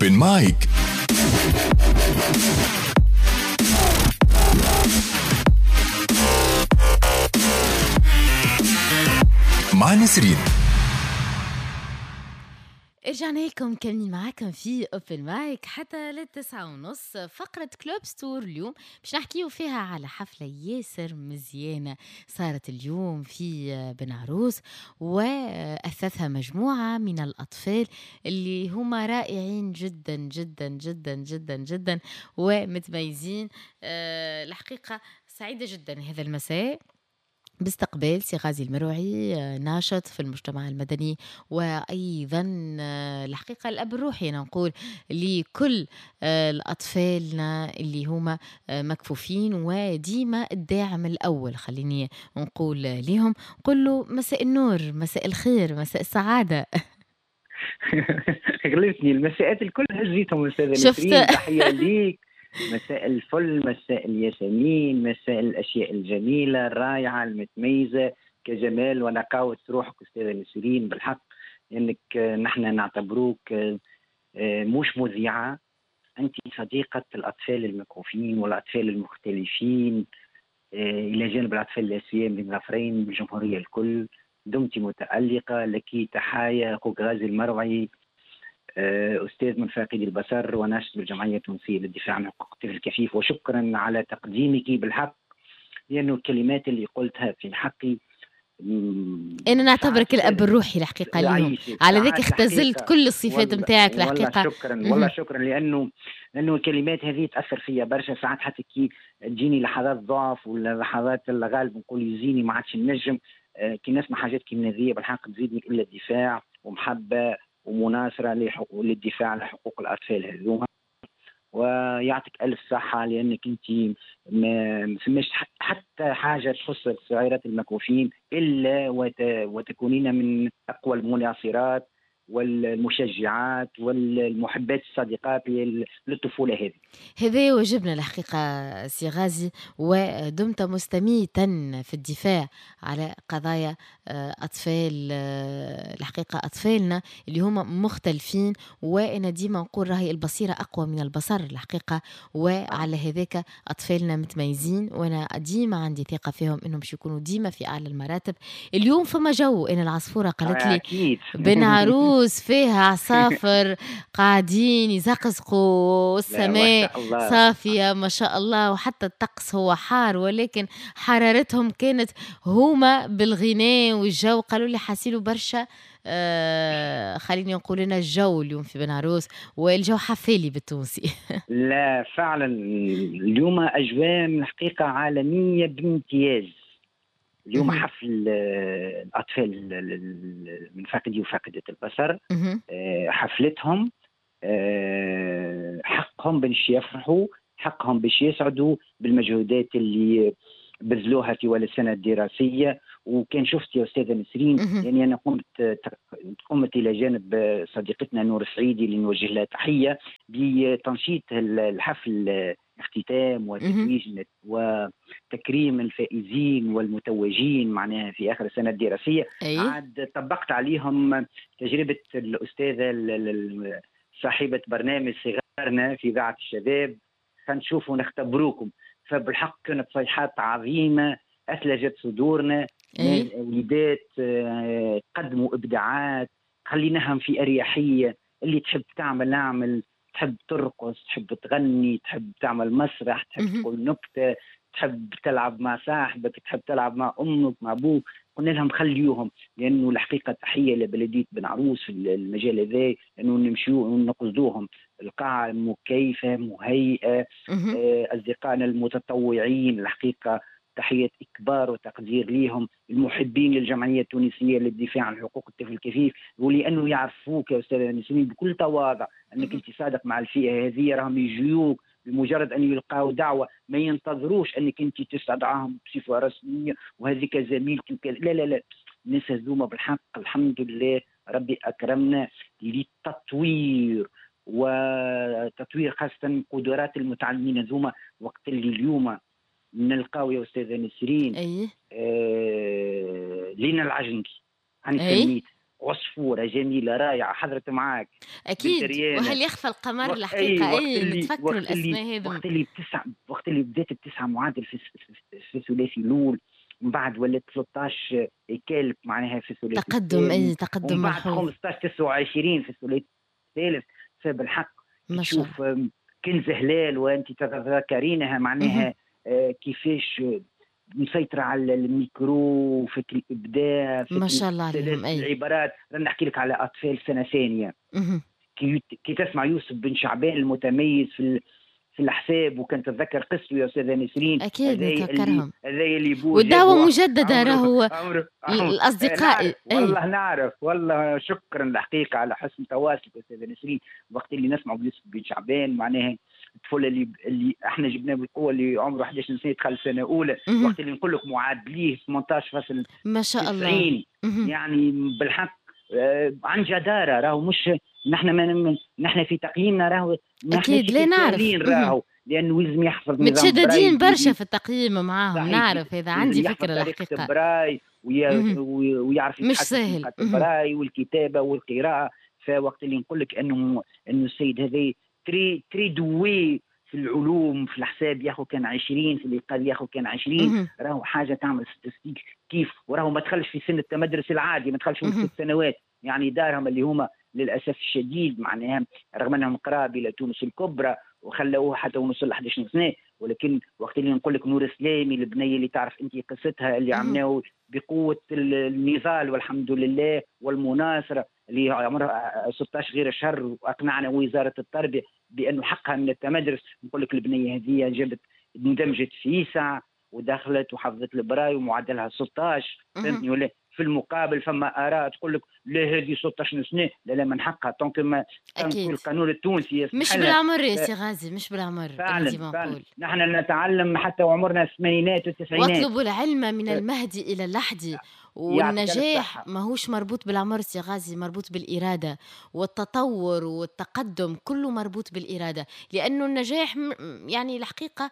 Open Mic. مع نسرين. رجعنا لكم كاملين معاكم في Open Mic حتى 9:30، فقرة Club Store اليوم باش نحكيو فيها على حفلة ياسر مزيانة صارت اليوم في بن عروس، وأثثها مجموعة من الأطفال اللي هما رائعين جدا جدا جدا جدا جدا ومتميزين. الحقيقة سعيدة جدا هذا المساء باستقبال سي غازي المروعي، ناشط في المجتمع المدني وأيضا الحقيقة الأب الروحي أنا نقول لكل الأطفالنا اللي هما مكفوفين وديما الداعم الأول. خليني نقول لهم، نقول له مساء النور، مساء الخير، مساء السعادة. غلبتني المساءات الكل هزيتهم أستاذة نسرين، تحية ليك. مساء الفل، مساء الياسمين، مساء الأشياء الجميلة الرائعة المتميزة كجمال ونقاوة روحك أستاذة نسرين. بالحق إنك نحن نعتبروك مش مذيعة، أنت صديقة الأطفال المكفوفين والأطفال المختلفين، إلى جانب الأطفال الآسيين بالظفرين بالجمهورية الكل. دمت متألقة، لك تحايا. أخوك غازي المروعي، أستاذ من فاقدي البصر وناشط بالجمعية التونسية للدفاع عن حقوق الطفل الكفيف، وشكرا على تقديمك بالحق، لأنه الكلمات اللي قلتها في حقي أنا نعتبرك الأب الروحي الحقيقة اليوم، على ذلك اختزلت كل الصفات نتاعك الحقيقة. شكرا والله شكرا، لأنه الكلمات هذه تأثر فيا برشا ساعات، حتى كي تجيني لحظات ضعف ولا لحظات الغالب نقول يزيني ما عادش نجم، كي نسمع حاجات كي هذه بالحق تزيدني إلا الدفاع ومحبة ومناصرة للدفاع على حقوق الأطفال هذوما. ويعطيك ألف صحة، لأنك أنت ما فماش حتى حاجة تخص الصغيرات المكفوفين إلا وتكونين من أقوى المناصرات والمشجعات والمحبات الصديقات للطفولة هذه. هذا واجبنا الحقيقة سي غازي، ودمت مستميتا في الدفاع على قضايا أطفال، الحقيقة أطفالنا اللي هما مختلفين، وأنا ديما نقول راهي البصيرة أقوى من البصر الحقيقة، وعلى هذاك أطفالنا متميزين، وأنا ديما عندي ثقة فيهم إنهم باش يكونوا ديما في أعلى المراتب. اليوم فما جو، أنا العصفورة قالت لي بن عروس فيها عصافر قاعدين يزقزقوا، السماء صافية ما شاء الله، وحتى الطقس هو حار، ولكن حرارتهم كانت هما بالغناء والجو. قالوا لي حاسيلوا برشا، خليني نقول لنا الجو اليوم في بن عروس والجو حفالي بالتونسي. لا فعلا اليوم أجواء من الحقيقة عالمية بامتياز. اليوم حفل الأطفال من فاقدي وفاقدة البصر، حفلتهم، حقهم باش يفرحوا، حقهم باش يسعدوا بالمجهودات اللي بذلوها في طوال السنة الدراسية. وكان شفت يا أستاذة نسرين، يعني أنا قمت إلى جانب صديقتنا نور السعيدي اللي نوجه لها تحية بتنشيط الحفل، اختتام وتتويج وتكريم الفائزين والمتوجين معناها في آخر السنة الدراسية. عاد طبقت عليهم تجربة الأستاذة صاحبة برنامج صغارنا في إذاعة الشباب، خنشوفوا نختبروكم. فبالحق كانت صيحات عظيمة أثلجت صدورنا. وليدات قدموا إبداعات، خليناهم في أريحية، اللي تحب تعمل أعمل، تحب ترقص، تحب تغني، تحب تعمل مسرح، تحب تقول نكتة، تحب تلعب مع صاحبك، تحب تلعب مع أمك مع أبوك. قلنا لهم خليوهم، لأنه الحقيقة تحية لبلدية بن عروس في المجال هذا، لأنه نمشيو ونقصدوهم. القاعة مكيفة مهيئة، أصدقائنا المتطوعين الحقيقة تحية إكبار وتقدير ليهم، المحبين للجمعية التونسية للدفاع عن حقوق الطفل الكفيف، ولأنه يعرفوك يا أستاذة نسرين بكل تواضع أنك أنت صادق مع الفئة هذه، راهم يجيوك بمجرد أن يلقاو دعوة، ما ينتظروش أنك أنت تستدعاهم بصفة رسمية وهذيك زميلتي وكذا. لا لا لا، الناس هذوما بالحق الحمد لله ربي أكرمنا للتطوير، وتطوير خاصة قدرات المتعلمين هذوما. وقت اللي اليوم نلقاو يا أستاذة نسرين لينا العجنكي، أنا سميت عصفوره جميلة رائعة حضرت معاك اكيد. وهل يخفى القمر الحقيقة؟ اي نتفكروا الاسماء هذو. وقت اللي بدات بتسعة معادل في الثلاثي الاول، من بعد ولات 13 كالك معناها في الثلاثي تقدم، اي تقدم من بعد 15 29 في الثلاثي الثالث. فبالحق تشوف كنز هلال وانت تتذكرينها معناها كيفاش مسيطرة على الميكرو، فكر الإبداع، ما شاء الله عليهم. أي العبارات. أنا نحكي لك على أطفال سنة ثانية، كي تسمع يوسف بن شعبان المتميز في الحساب، وكان تتذكر قصته يا أستاذة نسرين. أكيد نتذكرهم. هذا اللي بوه والدعوة مجددة راهو الأصدقاء. والله نعرف، والله شكرا الحقيقة على حسن تواصلك أستاذة نسرين. وقت اللي نسمع بيوسف بن شعبان معناها الطفل اللي احنا جبناه بالقوة، اللي عمره 11 سنة دخل سنة اولى، وقت اللي نقول لك معادليه 18.90 ما شاء الله، يعني بالحق عن جداره. راهو مش نحن نحن في تقييمنا راهو اكيد لا نعرف راهو، لانه لازم يحفظ نظام متشددين برشا في التقييم معاهم. نعرف هذا، عندي فكرة الحقيقة. براي ويعرف مش سهل براي والكتابة والقراءة. فوقت اللي نقول لك انه السيد هذا très doué في العلوم، في الحساب ياخذ كان 20، في الإيقاد ياخذ كان 20، راهو حاجة تعمل statistique كيف. وراهو ما دخلش في سن التمدرس العادي، ما دخلش في 6 سنوات، يعني دارهم اللي هما للاسف الشديد معناها رغم انهم قراب الى تونس الكبرى وخلوه حتى ونوصل ل 11 سنة، ولكن وقت اللي نقول لك نور سلامي البنية اللي تعرف انت قصتها، اللي عملناه بقوة النضال والحمد لله والمناصره، اللي عمرها 16 غير شهر، واقنعنا وزارة التربية بانه حقها من التمدرس. نقول لك البنية هذه جابت اندمجت في ساعة ودخلت وحفظت البراي ومعدلها 16، فهمتني ولا؟ في المقابل فما اراء تقول لك لا هذه 16 سنة، لا لا من حقها tant que ما القانون التونسي مش بالعمر يا سي غازي، مش بالعمر. فعلا, فعلا. نحن نتعلم حتى وعمرنا الثمانينات والتسعينات. واطلبوا العلم من المهدي الى اللحد. والنجاح ماهوش مربوط بالعمر سي غازي، مربوط بالإرادة والتطور والتقدم، كله مربوط بالإرادة. لأنه النجاح يعني الحقيقة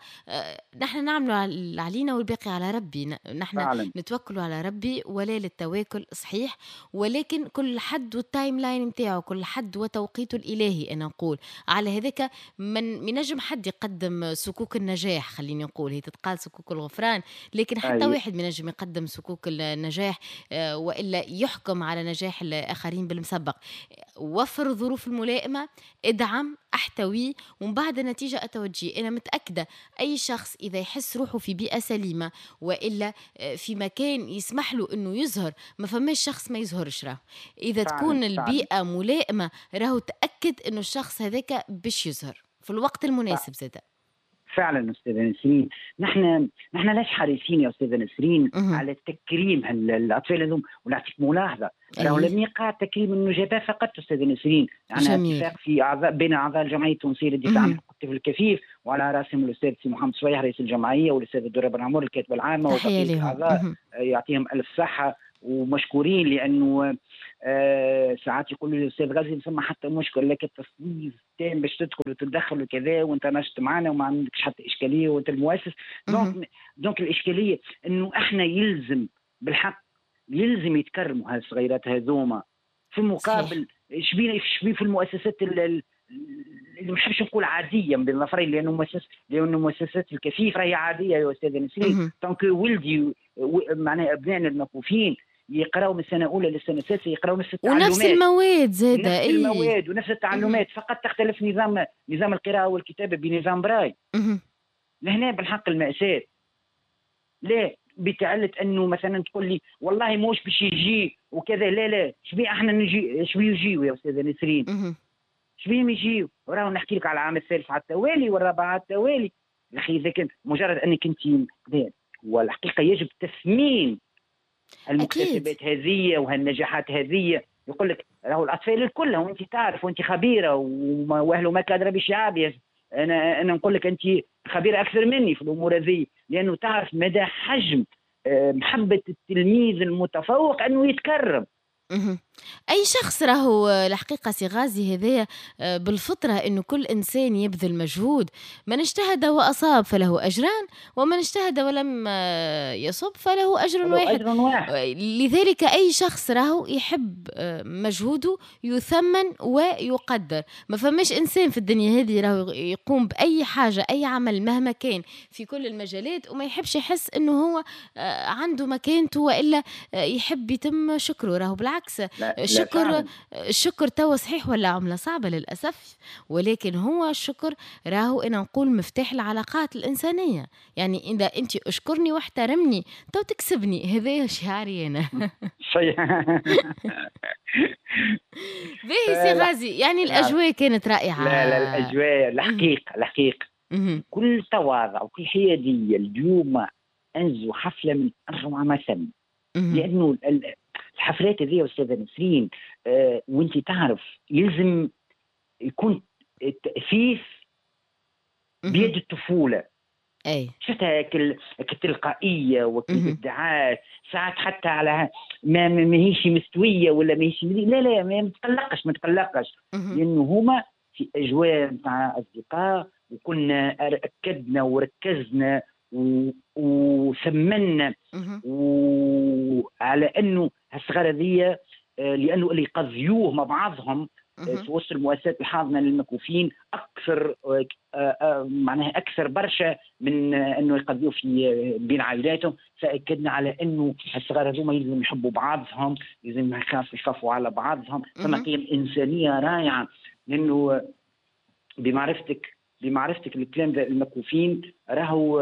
نحن نعمل علينا والباقي على ربي. نحن نتوكل على ربي ولا للتواكل، صحيح، ولكن كل حد وال timeline نتاعو، كل حد وتوقيته الإلهي. أنا نقول على هذاك من نجم حد يقدم صكوك النجاح، خليني نقول هي تتقال صكوك الغفران، لكن حتى واحد من نجم يقدم صكوك النجاح وإلا يحكم على نجاح الآخرين بالمسبق. وفر الظروف الملائمة، ادعم، احتوي، ومن بعد النتيجة أتوجي. أنا متأكدة أي شخص إذا يحس روحه في بيئة سليمة وإلا في مكان يسمح له أنه يظهر، ما فماش شخص ما يظهرش. راه إذا تكون البيئة ملائمة راهو تأكد أنه الشخص هذاك باش يظهر في الوقت المناسب. زادة فعلا أستاذة نسرين، نحن لاش حريصين يا أستاذة نسرين على تكريم الأطفال هذوم. ونعطيك ملاحظة، راهو لم يقع تكريم النجباء فقط أستاذة نسرين، عندنا اتفاق في أعضاء بين أعضاء الجمعية التونسية للدفاع عن حقوق الطفل الكفيف، وعلى رأسهم الأستاذ سي محمد صويح رئيس الجمعية، والأستاذ الدرة بن عمر الكاتبة العامة، وبقية الأعضاء يعطيهم ألف صحة ومشكورين. لأنه ساعات يقولوا لي الأستاذ غازي فما حتى مشكل، لكن التصنيف تام باش تدخل وتتدخل وكذا، وانت نشط معنا وما عندكش حتى إشكالية وانت المؤسس. donc الإشكالية إنه احنا يلزم بالحق يلزم يتكرموا هالصغيرات هذوما. في المقابل شبيه في المؤسسات اللي ما نحبش نقول عادية بالنفرين، لانه مؤسسات الكفيف راهي عادية يا استاذه نسرين. donc ولدي معناها ابنائنا المكفوفين يقراوا من السنة الاولى للسنة السادسة، يقراوا نفس التعلمات ونفس المواد زاده، نفس المواد ونفس التعلمات، فقط تختلف نظام القراءة والكتابة بنظام براي. لهنا بالحق المأساة لا بتعلة انه مثلا تقول لي والله موش باش يجي وكذا، لا لا شبيه احنا نجي، شبيه يجيو يا استاذه نسرين، شبيهم يجيو. وراهو نحكي لك على العام الثالث على التوالي والرابع على التوالي. اخي اذا كان مجرد انك انت، والحقيقة يجب تثمين المكتسبات هذه وهالنجاحات هذه. يقول لك راهو الاطفال الكل، وانت تعرف وانت خبيرة واهله ما كادره بشعاب، انا نقول لك انت خبيرة اكثر مني في الامور هذه، لانه تعرف مدى حجم محبة التلميذ المتفوق انه يتكرم. أي شخص راهو الحقيقة سي غازي هذايا بالفطرة إنه كل إنسان يبذل مجهود، من اجتهد وأصاب فله أجران، ومن اجتهد ولم يصب فله أجر واحد. لذلك أي شخص راهو يحب مجهوده يثمن ويقدر. ما فماش إنسان في الدنيا هذه راهو يقوم بأي حاجة، أي عمل مهما كان في كل المجالات، وما يحبش يحس إنه هو عنده مكانته وإلا يحب يتم شكره. راهو بالعكس، الشكر الشكر توا صحيح ولا عملة صعبة للأسف، ولكن هو الشكر راهو أنا نقول مفتاح العلاقات الإنسانية. يعني إذا أنت أشكرني واحترمني تو تكسبني، هذا شعاري أنا. صحيح. باهي سي غازي، يعني الأجواء كانت رائعة. لا لا، الأجواء الحقيقة الحقيقة كل تواضع وكل حيادية. اليوم أنزوا حفلة من أروع ما سمع، لأنه الحفلات هذه يا أستاذة نسرين وانت تعرف يلزم يكون التأثيث بيد الطفولة. أي شفتها التلقائية والإبداعات، ساعات حتى على ما ماهيش مستوية ولا ماهيش، لا لا ما تقلقش ما تقلقش، لأنه هما في أجواء مع أصدقاء، وكنا أكدنا وركزنا وثمنا وعلى انه هالصغار هذيا، لانه اللي يقضيوه مع بعضهم في وسط المؤسسات الحاضنة للمكوفين اكثر، معناها اكثر برشا من انه يقضيوه في بين عائلاتهم. فاكدنا على انه الصغار هذوما لازم يحبوا بعضهم، لازم يخافوا على بعضهم. فما قيم انسانيه رائعة، لانه بمعرفتك الكلام ده المكوفين راهو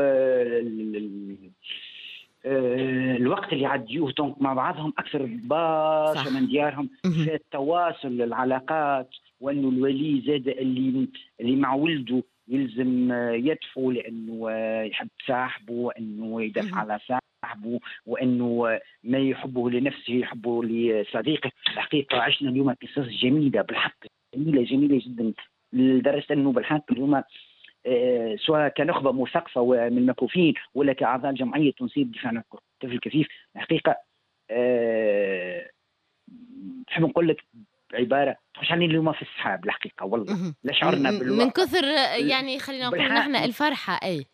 الوقت اللي يعديوه donc مع بعضهم اكثر برشا من ديارهم، في التواصل العلاقات، وانه الولي زاد اللي مع ولده يلزم يدفو لانه يحب صاحبه، وانه يدافع على صاحبه، وانه ما يحبه لنفسه يحبه لصديقه. الحقيقة عشنا اليوم قصص جميلة بالحق، جميلة جميلة جدا، لدرجة انه بالحق اليوم سواء كنخبه مثقفة ومن المكوفين ولا كاعضاء الجمعية التونسية للدفاع عن الطفل الكفيف، الحقيقة نحب نقول لك عبارة تخش علينا اليوم في السحاب الحقيقة، والله لا شعرنا بالوقت من كثر، يعني خلينا نقول نحن الفرحة. اي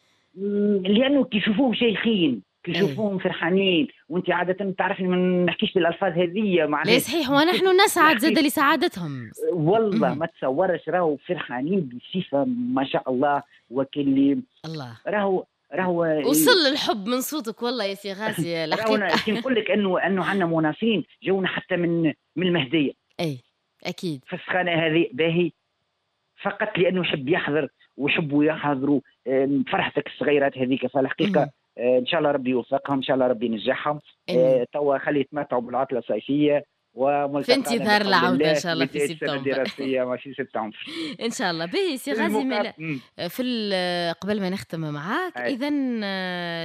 لانه كي يشوفوهم شيخين، كي يشوفوهم فرحانين، وانت عادة تعرفني ما نحكيش بالالفاظ هذه معناها. لا صحيح، ونحن نسعد زاد لسعادتهم والله. ما تصورش راهو فرحانين بصفة ما شاء الله، وكل الله راهو وصل الحب من صوتك والله يا سي غازي الحقيقة. كي نقول لك انه عندنا مناصرين جونا حتى من المهدية. اي اكيد في السخانه هذه باهي، فقط لانه يحب يحضر ويحبوا يحضروا فرحتك الصغيرات هذيك. فالحقيقة ان شاء الله ربي يوفقهم، ان شاء الله ربي ينجحهم. توا خلي يتمتعوا بالعطله الصيفية، في انتظار العودة ان شاء الله في سبتمبر الدراسية في سبتمبر ان شاء الله. باهي سي غازي، في قبل ما نختم معاك، اذا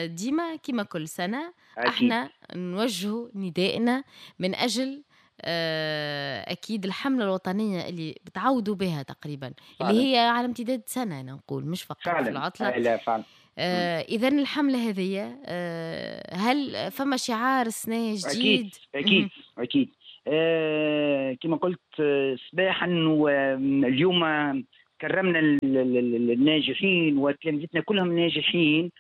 ديما كما كل سنة احنا نوجه ندائنا من اجل اكيد الحملة الوطنية اللي بتعودوا بها تقريبا، اللي هي على امتداد سنة انا نقول، مش فقط في العطلة. لا فعلا. إذا الحملة هذه هل فما شعار سنة جديد؟ أكيد أكيد, أكيد. كما قلت صباحا، اليوم كرمنا الناجحين وتلامذتنا كلهم ناجحين،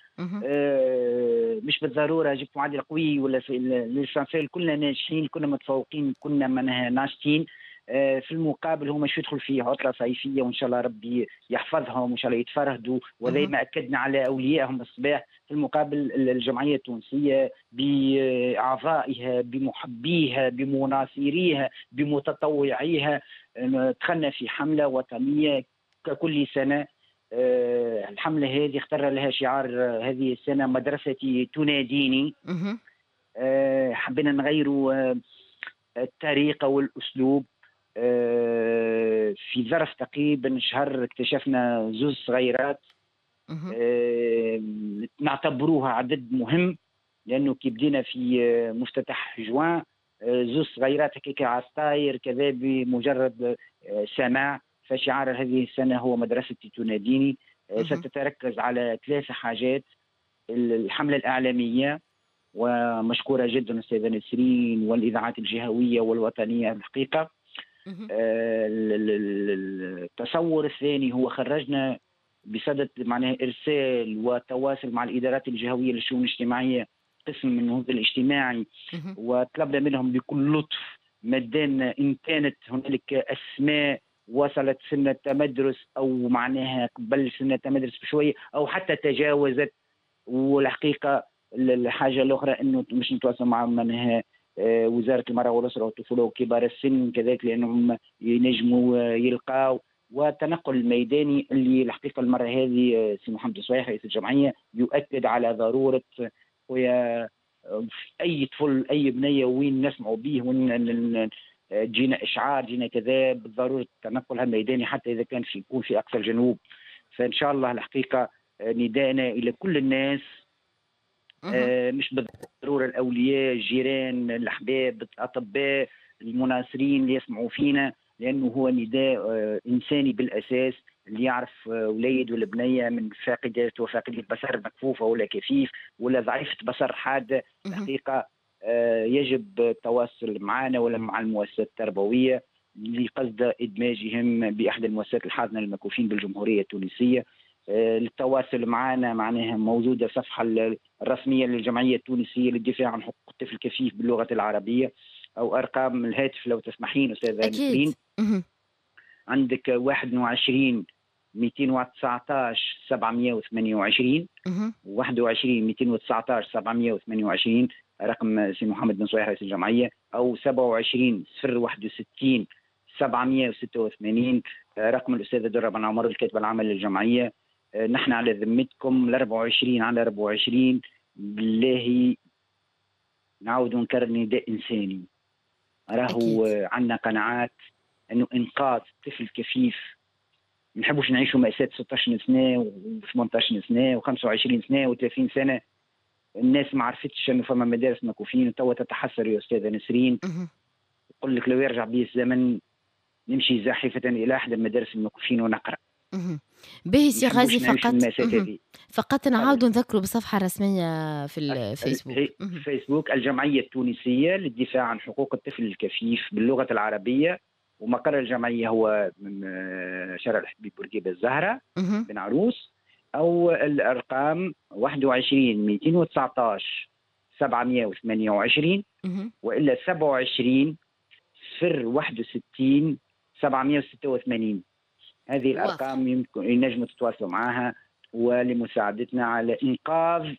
مش بالضرورة جبت معدل قوي ولا في l'essentiel، كلنا ناجحين، كلنا متفوقين، كلنا ناشطين. في المقابل هما شو يدخل في عطلة صيفية، وإن شاء الله ربي يحفظهم وإن شاء الله يتفرهدوا، وزي ما أكدنا على أوليائهم الصباح. في المقابل الجمعية التونسية بأعضائها بمحبيها بمناصريها بمتطوعيها دخلنا في حملة وطنية ككل سنة. الحملة هذه اختار لها شعار هذه السنة مدرستي تناديني. حبينا نغيروا الطريقة والأسلوب. في ظرف تقريبا شهر اكتشفنا زوز صغيرات نعتبروها عدد مهم، لأنه كي بدينا في مفتتح جوان زوز صغيرات هكاك على الطاير كذا بمجرد سماع. فشعار هذه السنة هو مدرستي تناديني. ستتركز على 3 حاجات: الحملة الإعلامية، ومشكوره جدا استاذه نسرين والاذاعات الجهوية والوطنيه الحقيقة. التصور الثاني هو خرجنا بصدد معناها ارسال وتواصل مع الادارات الجهوية للشؤون الاجتماعية، قسم من النهوض الاجتماعي، وطلبنا منهم بكل لطف مدان ان كانت هنالك اسماء وصلت سن التمدرس او معناها قبل سن التمدرس بشوية او حتى تجاوزت. والحقيقة الحاجة الاخرى انه مش نتواصل مع معناها وزارة المراة والاسرة والطفوله وكبار السن كذلك، لانهم ينجموا يلقاو. والتنقل الميداني اللي الحقيقة المرة هذه سي محمد صويح رئيس الجمعية يؤكد على ضرورة ويا اي طفل اي بنيه وين نسمعوا به وين جينا اشعار جينا كذا، بالضرورة التنقل الميداني حتى اذا كان في يكون في اقصى الجنوب. فان شاء الله الحقيقة ندائنا الى كل الناس، مش بالضرورة الاولياء، الجيران، الاحباب، الاطباء، المناصرين اللي يسمعوا فينا، لانه هو نداء انساني بالاساس. اللي يعرف وليد ولا بنيه من فاقدات وفاقدي البصر، مكفوفه ولا كفيف ولا ضعيفة بصر حادة، الحقيقة يجب التواصل معنا ولا مع المؤسسات التربوية لقصد ادماجهم باحدى المؤسسات الحاضنة للمكفوفين بالجمهوريه التونسية. التواصل معنا معناها موجودة الصفحة الرسمية للجمعية التونسية للدفاع عن حقوق الطفل الكفيف باللغة العربية، او ارقام الهاتف لو تسمحين استاذه نسرين. عندك 21 219 728، 21 219 728 رقم سي محمد بن صويح رئيس الجمعية، او 27 061 786 رقم الاستاذة درة بن عمر الكاتبة العامة للجمعية. نحن على ذمتكم 24 على 24. بالله نعاود نكرر نداء انساني، راهو عندنا قناعات انه انقاذ طفل كفيف، ما نحبوش نعيشوا مأساة 16 سنة و18 سنة و25 سنة و30 سنة. الناس ما عرفتش انه فما مدارس مكفوفين، وتوا تتحسر يا استاذه نسرين، يقول لك لو يرجع بي الزمن نمشي زاحفه الى احد المدارس المكفوفين ونقرا. باهي سي غازي، فقط نعاودوا نذكروا بالصفحه الرسمية في الفيسبوك. فيسبوك الجمعية التونسية للدفاع عن حقوق الطفل الكفيف باللغة العربية، ومقر الجمعية هو من شارع الحبيب بورقيبة الزهرة بن عروس، او الارقام 21 219 728 والا 27 061 786. هذه الارقام يمكن ينجموا تتواصلوا معها ولمساعدتنا على انقاذ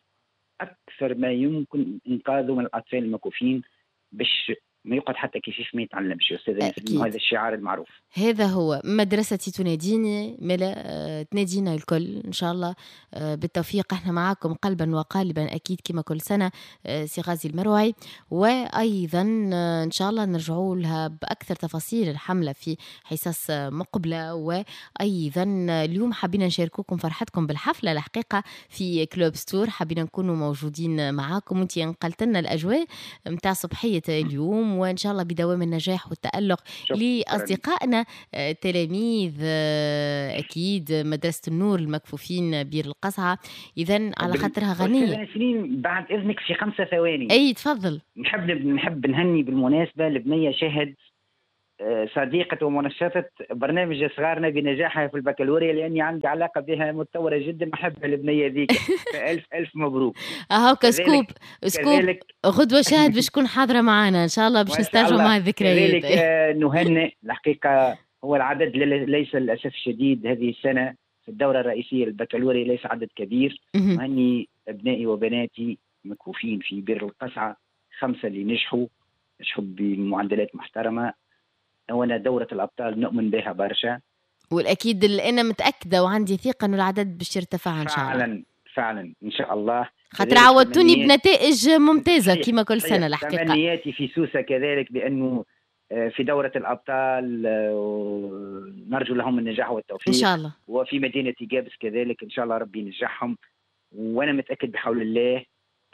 اكثر ما يمكن انقاذه من الاطفال المكفوفين، باش ما يقعد حتى كيفاش ما يتعلمش يا استاذ. هذا الشعار المعروف، هذا هو مدرستي تناديني، ملا تنادينا الكل ان شاء الله بالتوفيق. احنا معاكم قلبا وقالبا اكيد كما كل سنة سي غازي المروعي، وايضا ان شاء الله نرجعوا لها باكثر تفاصيل الحملة في حصص مقبله. وايضا اليوم حبينا نشاركوكم فرحتكم بالحفله الحقيقة في Club Store، حبينا نكونوا موجودين معاكم وانت نقلت لنا الاجواء نتاع صبحيه اليوم، وإن شاء الله بدوام النجاح والتألق لأصدقائنا تلاميذ أكيد مدرسة النور المكفوفين بير القصعة. إذن على خاطرها غنية. بعد إذنك في 5 ثواني. أي تفضل. نحب نهني بالمناسبة لبنية شهد صديقة ومنشطة برنامج صغارنا بنجاحها في البكالوريا، لأني عندي علاقة بها متطورة جدا، نحب البنية ذيك. فألف ألف مبروك. أهوكا scoop غدوة شاهد باش تكون حاضرة معنا إن شاء الله، باش نسترجعوا مع الذكريات. كذلك نهنئ الحقيقة، هو العدد ليس للأسف الشديد هذه السنة في الدورة الرئيسية للبكالوريا ليس عدد كبير. نهني أبنائي وبناتي مكفوفين في بير القصعة، 5 اللي نجحوا بمعدلات محترمة. وانا دورة الأبطال نؤمن بها برشا، والأكيد اللي أنا متأكدة وعندي ثقة أنه العدد باش يرتفع إن شاء الله. فعلا فعلا إن شاء الله، خاطر عودتوني بنتائج ممتازة كما كل سنة الحقيقة. تمنياتي في سوسة كذلك بأنه في دورة الأبطال نرجو لهم النجاح والتوفيق إن شاء الله، وفي مدينة جابس كذلك إن شاء الله ربي ينجحهم. وأنا متأكد بحول الله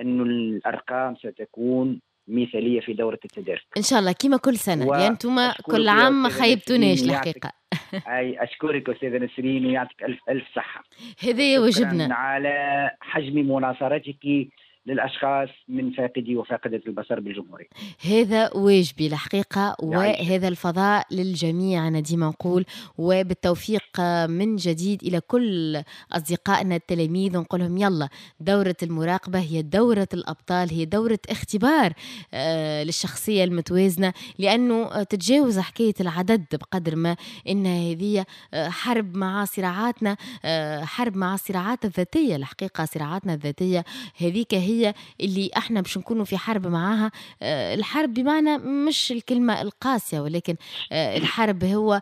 أنه الأرقام ستكون مثالية في دورة التدارك إن شاء الله كما كل سنة، لأن أنتم كل عام ما خيبتوناش الحقيقة. أي أشكرك أستاذة نسرين ويعطيك ألف ألف صحة. هذا واجبنا على حجم مناصرتك للأشخاص من فاقدي وفاقدة البصر بالجمهورية. هذا واجبي الحقيقة، وهذا الفضاء للجميع أنا ديما نقول، وبالتوفيق من جديد إلى كل أصدقائنا التلاميذ، ونقول لهم يلا دورة المراقبة هي دورة الأبطال، هي دورة اختبار للشخصية المتوازنة، لأنه تتجاوز حكاية العدد بقدر ما إن هذه حرب مع صراعاتنا، حرب مع الصراعات الذاتية. الحقيقة صراعاتنا الذاتية هذيك هي اللي احنا باش نكونوا في حرب معاها. الحرب بمعنى مش الكلمة القاسية، ولكن الحرب هو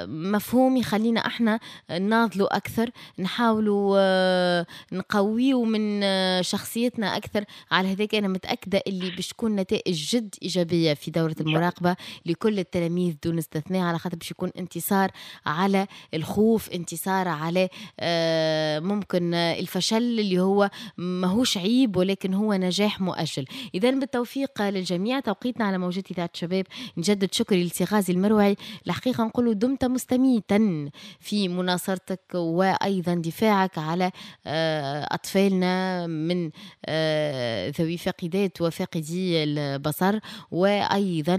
مفهوم يخلينا احنا نناضلوا أكثر، نحاولوا نقويوا من شخصيتنا أكثر. على هذاك أنا متأكدة اللي باش تكون نتائج جد إيجابية في دورة المراقبة لكل التلاميذ دون استثناء، على خاطر باش يكون انتصار على الخوف، انتصار على ممكن الفشل اللي هو ماهوش عيب ولكن هو نجاح مؤجل. إذا بالتوفيق للجميع. توقيتنا على موجات إذاعة الشباب، نجدد شكري لسي غازي المروعي. الحقيقة نقول دمت مستميتا في مناصرتك وأيضا دفاعك على أطفالنا من ذوي فاقدات وفاقدي البصر، وأيضا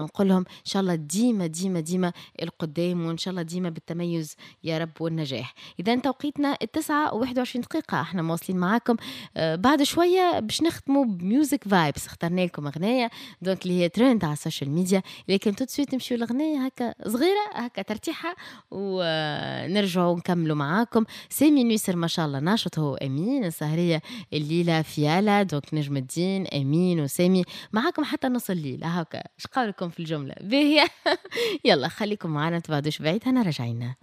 نقول لهم إن شاء الله ديما ديما ديما القدام، وإن شاء الله ديما بالتميز يا رب والنجاح. إذا توقيتنا 9:21، احنا مواصلين معاكم. بعد شوية باش نختموا ب music vibes، اخترنا لكم أغنية donc اللي هي ترند على ال social media، لكن tout de suite نمشيو لأغنية هكا صغيرة هكا ترتيحة ونرجعوا نكملوا معاكم. سامي نويسر ما شاء الله ناشط هو أمين السهرية الليلة فيالا، donc نجم الدين أمين وسامي معاكم حتى نص الليل هكا. اش قولكم في الجملة باهية؟ يلا خليكم معنا تبعدوش بعيد، أنا راجعين.